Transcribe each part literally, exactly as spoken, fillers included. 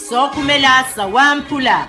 Sookhumela sawamphula.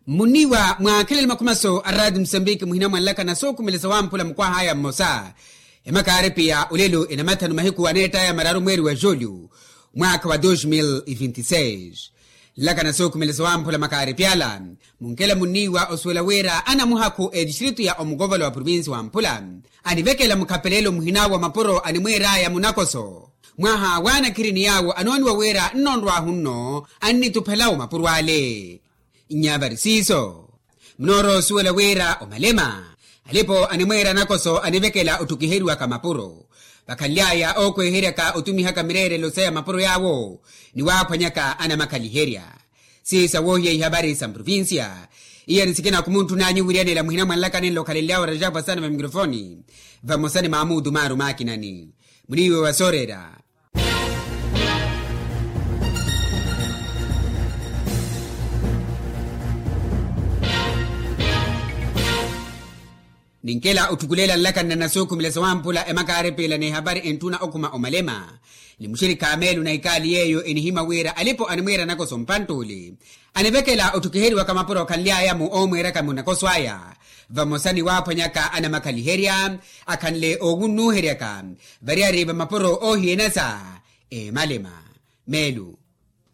Mmuniiwa mwaakhelele makhumaso a raati musambiki muhina mwanlaka na sookhumela sawamphula mukwahaya mmosa. Emakaaripi ya olelo enamathanu mahiku aneettaya mararu mweeri wa julho, mwaakha wa dos mil e vinte e seis. Nlaka na sookhumela sawamphula makaaripi ala, munkela munniiwa osuwela wira anamuhakhu etistritu ya omukovola wa provincia wamphula, anivekela mukhapelelo muhina wa mapuro animwiiraya munakoso. Mwaha waanakhiri ni yaawo anooniwa wira nnonrwahu nno, annituphelawo mapuro ale. Nyavari siiso, munoorowa osuwela wira omalema, alipo animwiira nakoso anivekela otthukiheriwaka mapuro. Vakhanly'aya ookweheryaka otumihaka mireerelo saya mapuro yaawo, ni waaphwanyaka anamakhaliherya. Siisa woohiya ihavari sa mprovincia. Iya ni sikina khumunttuna anyu wiriyanela muhina mwanlaka nenlo okhalelyawe rajapwa sana va mikrofoni, vamosa ni maamuutu maaru maakinani. Muniiwe wa sooreera. Ninkela otthukulela nlaka nna nasookhumela sawamphula emakaarepela n'ehavari entthuna okhuma omalema, ni muxirikha meelu na ikaali yeeyo enihimya wira alipo animwiira nakoso mpantt'ule, anivekela otthukiheriwaka mapuro khanly'aya-mo oomwiiraka munakoso aya, vamosa ni waaphwanyaka anamakhaliherya, akhanle oowunnuheryaka variyari va mapuro oohiyenasa emalema. Meelu.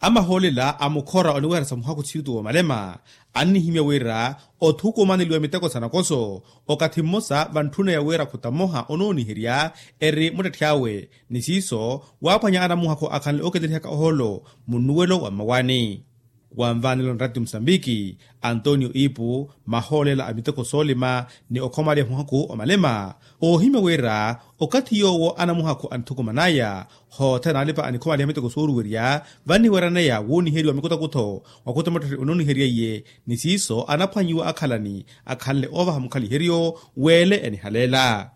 Amahoolela a mukhora oniweheresa muhakhu txitu woomalema, annihimya wira othukumaneliwa miteko sa nakoso, okathi mmosa vantthuneya wira khuta mmoha onooniherya eri muttetthi awe, ni siiso waaphwanya anamuhakhu akhanle ooketerihaka ohoolo munnuwelo wa mmawaani. Wanvaanelo nratti musambiki, antonio ipu, mahoolela a miteko soolima ni okhomaliha muhakhu omalema, oohimya wira okathi yoowo anamuhakhu anthukuman'aya, hothene alipa anikhomaliha miteko sooruwerya, vanniweraneya wuuniheriwa mikutakutho wa khuta muttetthi onooniheriye, ni siiso anaphwanyiwa akhalani akhanle oovaha mukhaliheryo, wele enihaleela.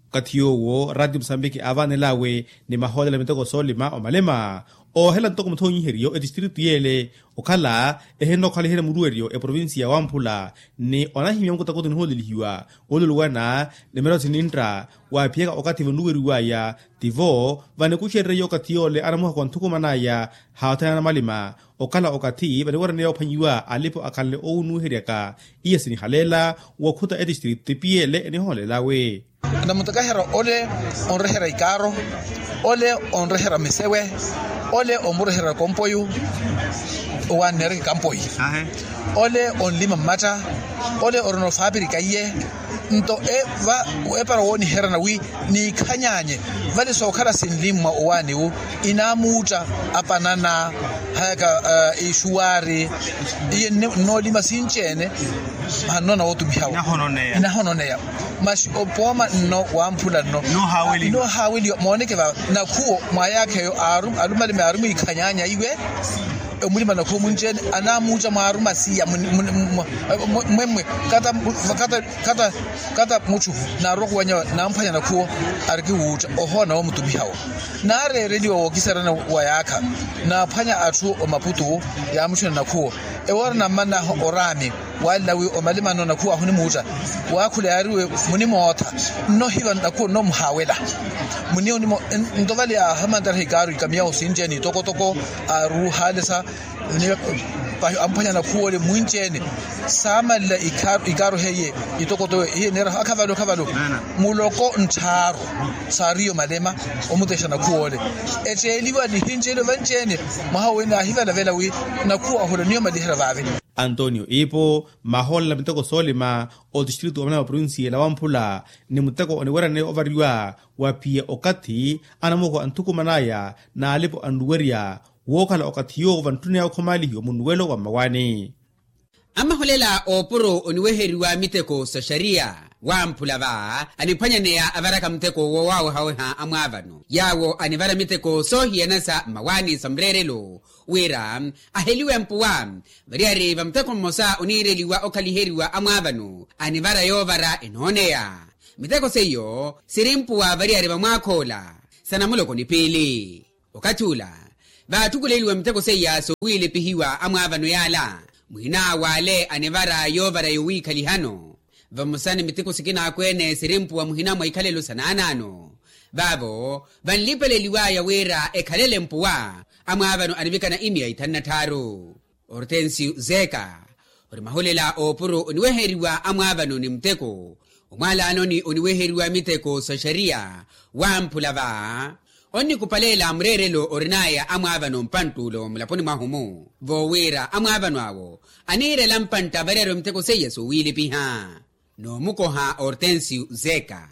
Okathi yoowo rati musambiki aavaanelawe ni mahoolela miteko soolima omalema, oohela ntoko muthoonyiheriyo etistritu yeele, okhala ehinnokhaliherya muruweryo eprovincia wamphula, ni onahimya mukutakuti nihoolelihiwa, oluluwana ni mirawo sinintta, waaphiyaka okathi vanluweriw'aya, tivo vanikuxereriye okathi yoole anamuhakhu anthukuman'aya, haathana namalima, okhala okathi vaniwereneya ophwanyiwa alipo akhanle oowunnuheryaka. Iya sinihaleela wokhuta etistritu tipiyeele enihoolelawe. Namutakaherya ole onrehera ikaaro, ole onrehera misewe, ole omurehera kompoyu, owanneereke kampoyi, ole onlima mmatta, ole orina ofapirika iye. Nto epara wooniherana wi niikhanyanye vale sookhala sinlimmwa owaani wu, inaamuutta apanana, hayaka ixuwaari, iye nnoolima sinci-ene. Hannona wootumihawo inahononeya. Masi opooma nno wamphula nno noohaaweliwa mooneke va nakhuwo mwayaakha eyo. Alumalime aarumwiikhanyanya iwe omulima nakhuwo munci-ene anaamuutta mwaaruma siya. Mwemmwe kata mutthu naarwa khuwanya namphwanya nakhuwo arikiwuutta ohoona woomutumihawo. Naareereliwa wookisarana wa yaakha naaphwanya atthu omaputu yaamutthuna nakhuwo ewoora nammanaho oraami. Waalla wi omalimano nakhuwo ahunimuutta waakhula yaariwe munimootha nnohiva nakhuwo nnomuhaawela. Muniyo nimo nto vale aahamantaraha ikaaru ikamiyawo sinci-ene itokotoko aaruuhaalesa. Amphwanya nakhuwole mwinci-ene saamanla ikaaru heiye itokotoko iye neeraha akhavalo akhavalo muloko nttharu saariyo malema omutexa nakhuwole. Etteliwa nihinci-ene vanci-ene mwaha owe naahivalavela wi nakhuwa ahula niyo malihera vaave. Antonio ipo mahoolela miteko soolima otistritu omalema provincia la wamphula ni muteko oniwerane ovariwa wa phiya okathi anamuhakhu anthukuman'aya n'alipo anluwerya wookhala okathi yoowo vantthuneya okhomalihiwa munnuwelo wa mmawaani. Amaholela oopuro oniweheriwa miteko sa xariya wamphula va aniphwanyaneya avaraka muteko woowawehaweha amwaavano yaawo anivara miteko soohiyana sa mmawaani sa mureerelo wira aheliwe mpuwa. Variyari va muteko mmosa oniireliwa okhaliheriwa amwaavano anivara yoovara enooneya miteko seiyo siri mpuwa variyari va mwaakhoola sa namuloko ni piili. Okathi ula vaattukuleliwa miteko seiya soowiilepihiwa amwaavano yaala mwina w'ale anivara yoovara yowiikhalihano. Vamosa ni miteko sikina akweene sirimpuwa muhina mwa ikhalelo sa naanaano. Vaavo vanlipeleliwaya wira ekhalele mpuwa amwaavano anivikana imiya ithanu na tthaaru. Ortensio zeka ori mahulela oopuro oniweheriwa amwaavano ni muteko omwaalaanoni oniweheriwa miteko sa xariya. Wamphula va onnikupaleela mureerelo orinaya amwaavano mpantt'ule omulaponi mwahu-mu voowira amwaavano awo aniirela mpantta variyari omiteko seiya soowiilipiha. Noomukoha ortensio zeka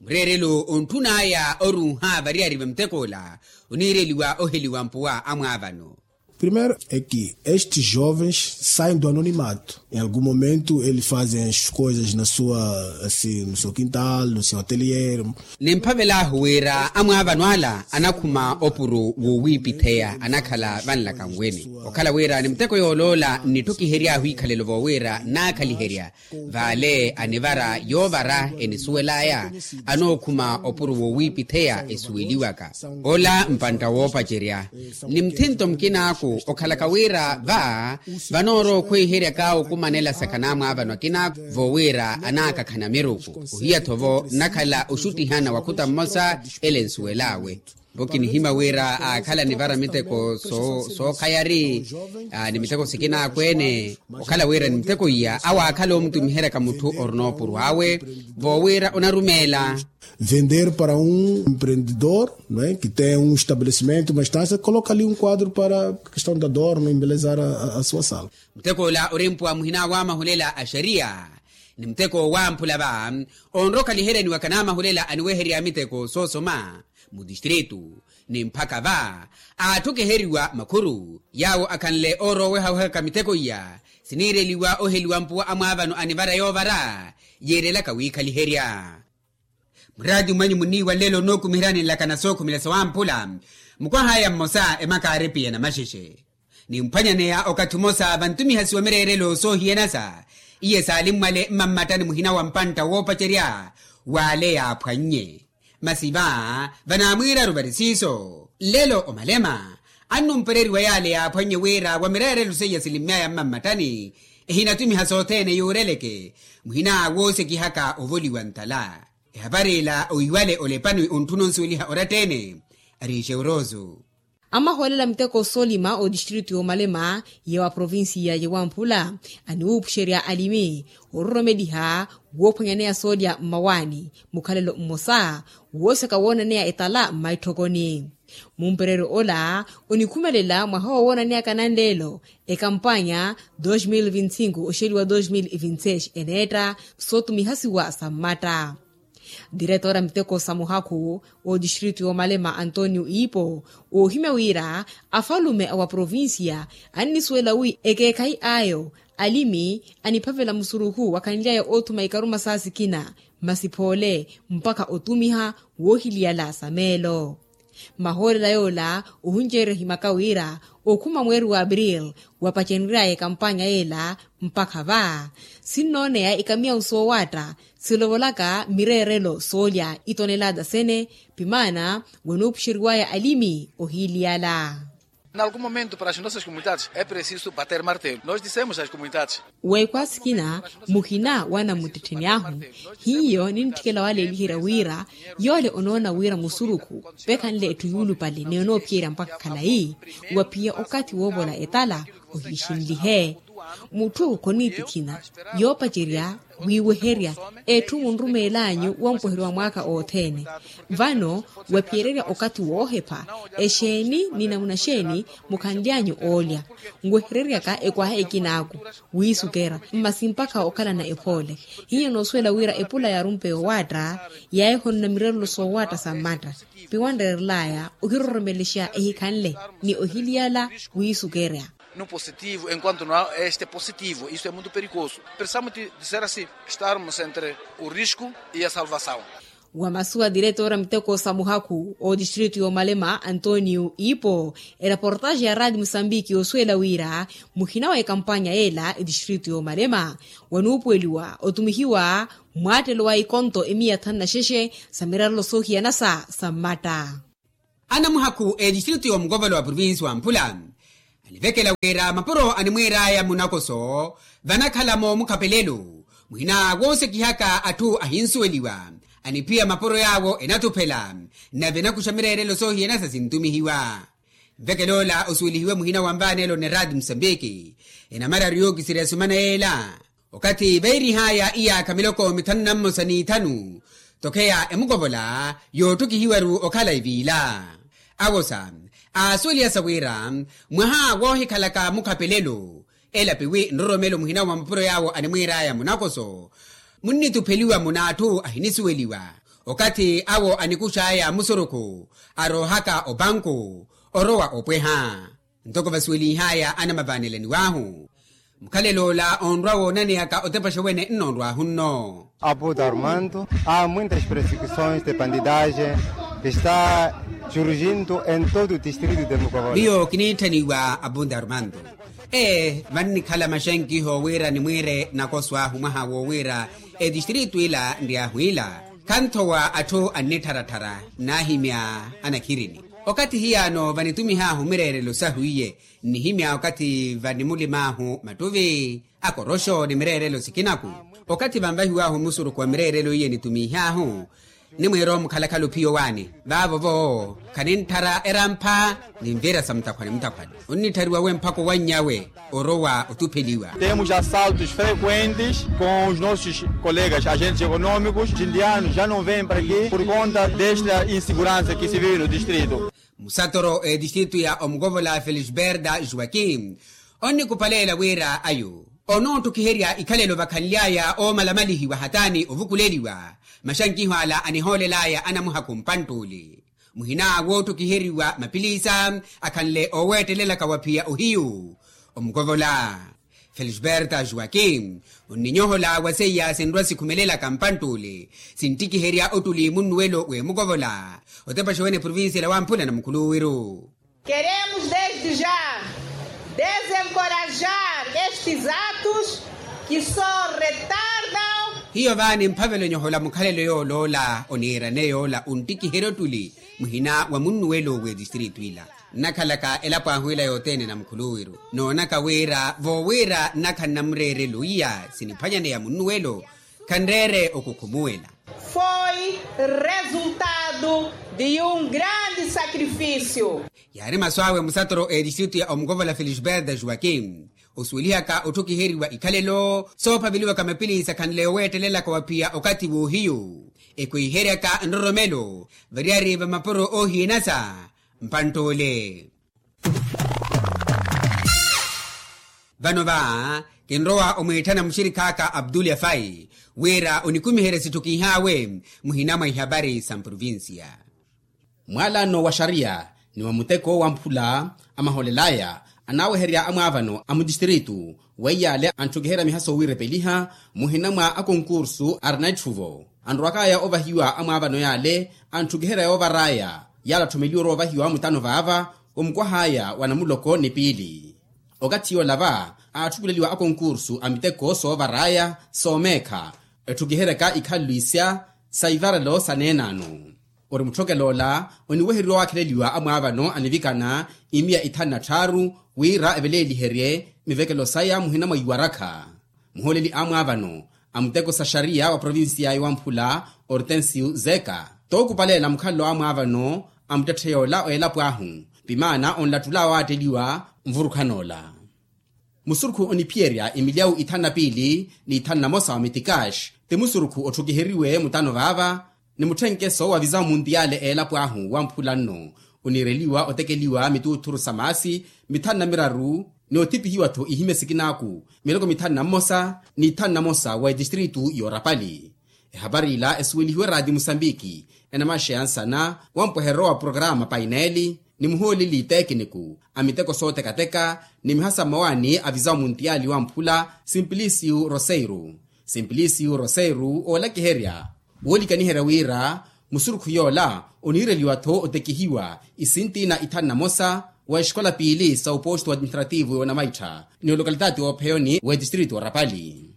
mureerelo ontthun'aya oruuha variyari va muteko ola oniireliwa oheliwa mpuwa amwaavano. Primero é que estes jovens saem do anonimato em algum momento eles fazem as coisas na sua, assim, no seu quintal, no seu atelier. Nimphavel'ahu wira amwaavano ala anakhuma opuro woowiipitheya anakhala vanlaka nweni okhala wira ni muteko yooloola nnitthukihery'ahu ikhalelo voowira naakhaliherya vaale anivara yoovara enisuwel'aya anookhuma opuro woowiipitheya esuweliwaka ola mpantta woopacerya. Ni muthinto mukinaaku okhalaka wira va vanoorowa okhweiheryaka okumanela sakha n'amwaavano akinaaku voowira anaakakhana miruku ohiya-tho vo nnakhala oxuttihana wakhuta mmosa ele nsuwel'awe. Vo kinihimya wira aakhala anivara miteko sookhayari ni miteko sikina akweene okhala wira ni miteko iya awo aakhala omutumiheryaka mutthu orina opuro awe voowira onarumeela. Vender para um empreendedor, não é, que tem um estabelecimento uma estância coloca ali um quadro para questão da dor não embelezar a sua sala. Muteko ola orimpuwa muhina wa mahulela a xariya ni muteko wamphula va onrokhaliheryaniwaka n'amahulela aniweherya miteko soosoma mu distritu. Ni mpakha va aatthukiheriwa makhuru yaawo akhanle oorowehawehaka miteko iya siniireliwa oheliwa mpuwa amwaavano anivara yoovara yiirelaka wiikhaliherya. Muraati mwanyu muniiwa nlelo onookumiheryani nlakana sookhumela sawamphula mukwah'aya mmosa emakaari piya na maxexe nimphwanyaneya okathi omosa vantumihasiwa mireerelo soohiyanasa iye saali mmwale mmammattani muhina wa mpantta woopacerya waale yaaphwannye. Masi va vanaamwiiraru vari siiso nlelo omalema annumpereriwa yaale yaaphwannye wira wa mireerelo seiya silimmy'aya mmammattani ehinatumiha sothene yuureleke muhina woosekihaka ovoliwa ntala. Ehapari ila oiwale olepani ontthuna onsuweliha oratta-ene. Ari xeuroso. Amahoolela miteko soolima otistritu yoomalema ya wa provincia ya wamphula aniwuupuxerya alimi ororomeliha woophwanyaneya soolya mmawaani mukhalelo mmosa woosaka woonaneya etala mmaitthokoni. Mumpereryo ola onikhumelela mwaha owoonaneyaka nanleelo ekampanya dos mil vinti cinco oxeliwa dos mil vinti seis eneetta sootumihasiwa sa mmatta. Diretora miteko sa muhakhu otistritu yoomalema antonio iipo oohimya wira afalume a wa provincia annisuwela wi ekeekhayi ayo alimi aniphavela musurukhu wakhanly'aya oothuma ikaruma saa sikina masi phoole mpakha otumiha woohiliyala sa meelo. Mahoolela yoola ohunceerya ohimaka wira okhuma mweeri wa april wapacenry'aya ekampanya yeela mpakha va sinnooneya ikamiyawu soowaatta silovolaka mireerelo soolya itonelata sene pimaana wanuupuxeriwaya alimi ohiiliyala. N'algum momento para as nossas comunidades é preciso bater martelo nos dissemos as comunidades. Weekhwa sikina muhina wa namuttettheni ahu hiyo nintthikela waleeliherya wira yoole onoona wira musurukhu vekhanle etthu yuulupale ni onoophiyerya mpakha khalayi waphiya okathi woovola etala ohiixinlihe. Mutthu khoniitikhina yoopacerya wiiweherya etthu munrumeel'anyu wampoheryo wa mwaaka othene vano waphiyererya okathi woohepha exeeni ni namuna xeeni mukhanly'anyu oolya nwehereryaka ekwaha ekinaaku wiisukera masi mpakha okhalana ephoole. Hiyo noosuwela wira epula yaarumpe yoowaatta yaahihonona mirerelo soowaatta sa mmatta piwanreerel'aya ohiroromelexa ehikhanle ni ohiliyala wiisukerya. No positivo enquanto no este positivo isto é muito perigoso. Precisamos de ser assim estarmos entre o risco e a salvação. Wa masu a diretora miteko sa muhakhu otistritu yoomalema antonio ipo eraportaxe ya raati musambiki osuwela wira muhina wa ekampanya yeela etistritu yoomalema wanuupuweliwa otumihiwa mwaattelo wa ikonto emiya thanu na xexe sa mirarelo soohiyanasa sa mmatta. Anamuhakhu etistritu yoomukovolo wa provinsi wa mphula anivekela wira mapuro animwiir'aya munakoso vanakhala moomukhapelelo Muhina woosekihaka atthu ahinsuweliwa, aniphiya mapuro yaawo enatuphela, nave enakuxa mireerelo soohiyana sa sintumihiwa. Nvekel'ola osuwelihiwe muhina wa nvaanelo nerati musambiki, enamararu yookisirya esumana yeela. Okathi veerih'aya iyaakha miloko mithanu na mmosa n'ithanu, tokheya emukovola yootthukihiwaru okhala eviila. Awosa aasuweliha sa wira mwaha woohikhalaka mukhapelelo, elapiwi nroromelo muhina wa mapuro yaawo animwiir'aya munakoso, munnitupheliwa mun'atthu ahinisuweliwa. Okathi awo anikux'aya musurukhu, aroohaka opanku, orowa opweha. Ntoko vasuwelih'aya anamavaanelaniw'ahu, mukhalel'ola onrwa woonaneyaka otepaxa wene nnoonrw'ahu nno. Abuto armando, a muintas persecuções de bandidagem que está surgindo em todo o distrito de mukovola. Miyo kiniitthaniwa abuto armando. Ee, vannikhala maxenkiho wira nimwiire nakoso ahu mwaha woowira etistritu ila nryahu ila, khanthowa atthu annittharattharya, naahimya anakhirini. Okathi hiyaano vanitumih'ahu mireerelo sahu iye, nnihimya okathi vanimulim'ahu mattuvi, akoroxo ni mireerelo sikinaku. Okathi vanvahiw'ahu musurukhu wa mireerelo iye nitumih'ahu, nimwiira omukhalakhala ophiya owaani vaavo-vo, khanintthara erampha, ninviira sa mutakhwani mutakhwani. Onnitthariwa we mphaka owanny'awe, orowa otupheliwa. Temos assaltos frequentes com os nossos colegas agentes econômicos. Os indianos já não vêm para aqui por conta desta insegurança que se vive no distrito. Musatoro etistritu ya omukovola felisberta joaquim, onnikuphaleela wira ayo onoottukiherya ikhalelo vakhanly'aya oomalamalihiwa hataani ovukuleliwa. Maxankiho ala anihoolel'aya anamuhakhu mpanttuuli, muhina woottokiheriwa mapilisa akhanle ooweettelelaka wa phiya ohiyu. Omukovola felisberta joaquim onninyohola wa seiya sinrwa sikhumelelaka mpanttuuli, sinttikiherya ottuli munnuwelo w'emukovola, otepaxa wene provincia la wamphula na mukhuluwiru. Queremos desde já desencorajar estes atos que só retardam. Hiyo vaani mphavelo nyohola mukhalelo yool'ola oniirane yoola unttikiherya ottuli muhina wa munnuwelo w'etistritu ila. Nnakhalaka elapo ahu ila yothene na mukhuluwiru, noonaka wira voowira nnakhala na mureerelo iya siniphwanyaneya munnuwelo, khanreere okukhumuwela. Foi resultado de um grande sacrifício. Yaari masu awe musatoro etistritu ya omukovola felisberta joaquim, osuwelihaka otthukiheriwa ikhalelo soophaveliwaka mapilisa khanle oweettelelaka wa phiya okathi w'ohiyu, ekhwiheryaka nroromelo variyari va mapuro oohiyanasa mpanttuule. Vano va kinrowa omwiitthana muxirikh'aka abdul yafai wira onikumiherye sitthukiih'awe muhina mwa ihapari sa mprovincia. Mwaalano wa xariya ni wa muteko wa mphula amahoolel'aya anaaweherya amwaavano a mutistritu, weiy'ale antthukiherya mihaso wiirepeliha muhina mwa akonkursu arina itthuvo. Anrowak'aya ovahiwa amwaavano y'ale antthukiherya yoovar'aya y'ale atthomeliwa orowa ovahiwa mutano vaava, omukwah'aya wa namuloko ni piili. Okathi yoola va aatthukuleliwa akonkursu a miteko soovar'aya soomeekha, etthukiheryaka ikhalelo isya sa ivarelo sa neenano. Ori mutthokel'ola oniweheriwa waakheleliwa amwaavano anivikana imiya ithanu na tthaaru wira eveleeliherye mivekelo saya muhina mwa iwarakha. Muhooleli amwaavano a muteko sa xariya wa provincia ya iwamphula, hortensio zeka, tookupaleela mukhalelo amwaavano a muttetthe yoola a elapo ahu, pimaana onlattula awaatteliwa nvurukhan'ola. Musurukhu oniphiyerya imilyawu ithanu na piili ni ithanu na mosa wa mitikaxi, ti musurukhu otthukiheriwe mutano vaava ni mutthenkeso wa visawu muntiyale a elapo ahu wamphula nno. Oniireliwa otekeliwa mituuthuru sa maasi mithanu na miraru, ni othipihiwa-tho ihimya sikinaaku miloko mithanu na mmosa ni ithanu na mosa wa etistritu y'orapali. Ehapari ila esuwelihiwe raati musambiki, enamaxeya nsana wa mpweherero wa programa paineli ni muhooleli tekiniku a miteko sootekateka ni mihaso a mmawaani a visawu muntiyali wamphula, simplisiu roseiru. Simplisiu roseiru oolakiherya woolikaniherya wira musurukhu yoola oniireliwa-tho otekihiwa isinti na ithanu na mosa wa exikola piili sa upostu administrativu y'onamaittha ni olokalitati oopheyoni w'etistritu orapali.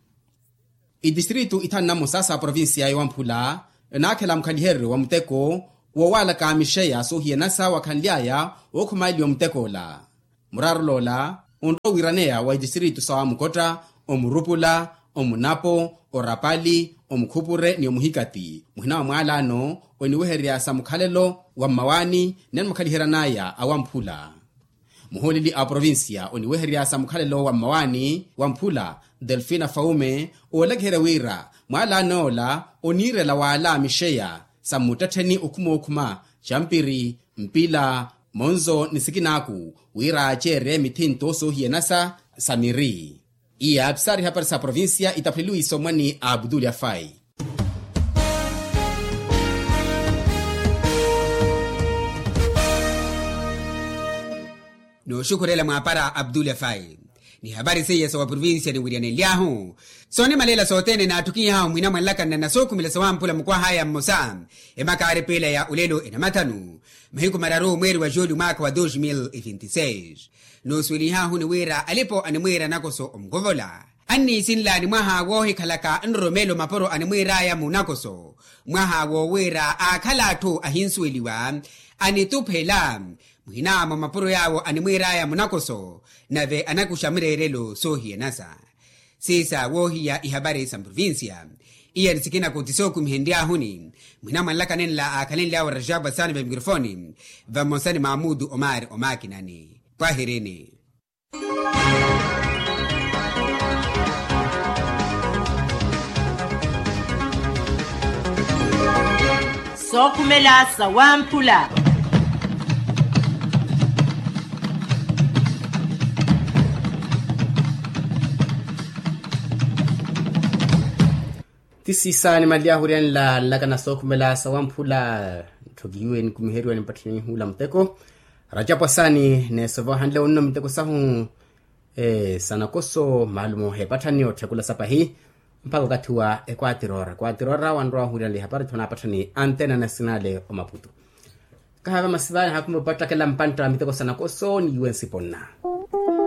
Itistritu ithanu na mmosa sa provincia ya iwamphula enaakhela mukhaliheryo wa muteko woowaalaka mixeya soohiyanasa wakhanly'aya wookhumaaliwa mutek'ola. Muraarul'ola onrowa wiiraneya wa itistritu sa wamukotta, omurupula, omunapo, orapali, omukhupure ni omuhikati muhina wa mwaalano oniwehererya sa mukhalelo wa mmawaani ni animukhaliheryan'aya awamphula. Muhooleli a oprovincia oniwehererya sa mukhalelo wa mmawaani wa mphula, delfina faume, oolakiherya wira mwaalano ola oniirela waala mixeya sa mmuttettheni okhumookhuma, campiri, mpila, monzo ni sikinaaku wira aaceerye mithinto soohiyanasa sa miri. Iya pisari hapari sa provincia itaphuleliwe isomwani a abdul yafai. Nooxukhurela mwaapara abdul yafai. Ni hapari seiya sa wa provincia niwiryanenly'ahu soonimalela sothene naattukihahu mwina mwanlakanna na sookhumela sa wamphula mukwah'aya mmosa. Emakaari piila ya olelo enamathanu mahiku mararu mweeri wa julho mwaakha wa dos mil e vinti seis. Noosuwelihahu ni wira alipo animwiira nakoso omukovola anniisinlani mwaha woohikhalaka nroromelo mapuro animwiir'aya munakoso. Mwaha woowiira aakhala atthu ahinsuweliwa anituphela muhina mwa mapuro yaawo animwiir'aya munakoso nave anakuxa mireerelo soohiyanasa. Siisa woohiya ihapari sa mprovincia. Iyani sikina kuti sookumihenry'ahuni muhina mwanlaka nenla aakhalenly'awe rajabu asaani va mikrofoni vamosa ni maamudu omaari omaakinani. Kwahirini. Sookhumela sa wamphula. Ti siisa nimanly'ahu oryanla nlakana sookhumela sa wamphula. Ntthokiwe nikumiheriwe nimpatthaniwe nihuula muteko. Rajapu asaani neesova ohanle wonno miteko sahu sa nakoso maalumo heepatthani otthekula sa pahi mpakha okathi wa ekwatirora kwatirora wanrowa ohuuliranle ihapari tho naapatthani antena nasinale omaputu. Kahaava masivaani haakhuma opattakela mpantta wa miteko sa nakoso niiwe nsiponna.